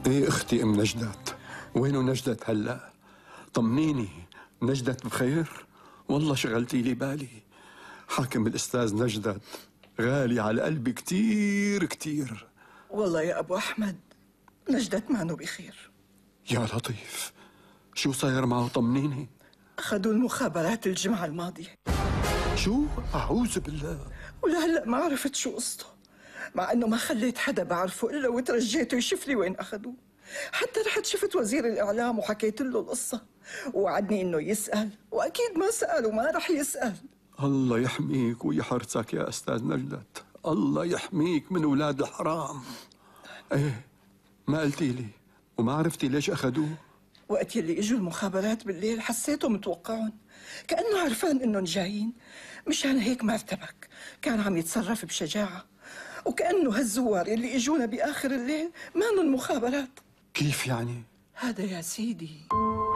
ايه اختي ام نجدت؟ وينو نجدت هلا؟ طمنيني، نجدت بخير؟ والله شغلتي لي بالي. حاكم الاستاذ نجدت غالي على قلبي كتير كتير. والله يا ابو احمد نجدت مانو بخير. يا لطيف، شو صاير معه؟ طمنيني. اخذوا المخابرات الجمعة الماضية. شو؟ اعوذ بالله. ولهلا ما عرفت شو قصته، مع انه ما خليت حدا بعرفه الا وترجيته يشوف لي وين اخذوه. حتى رحت شفت وزير الاعلام وحكيت له القصة، ووعدني انه يسأل، واكيد ما سأل وما رح يسأل. الله يحميك ويحرسك يا استاذ نجدت، الله يحميك من اولاد الحرام. ايه ما قلتي لي وما عرفتي ليش اخذوه؟ وقت يلي اجوا المخابرات بالليل حسيته متوقعهم، كأنه عرفان انهم جايين، مشان هيك ما ارتبك، كان عم يتصرف بشجاعة، وكأنه هالزوار يلي اجونا بآخر الليل مانن المخابرات. كيف يعني؟ هذا يا سيدي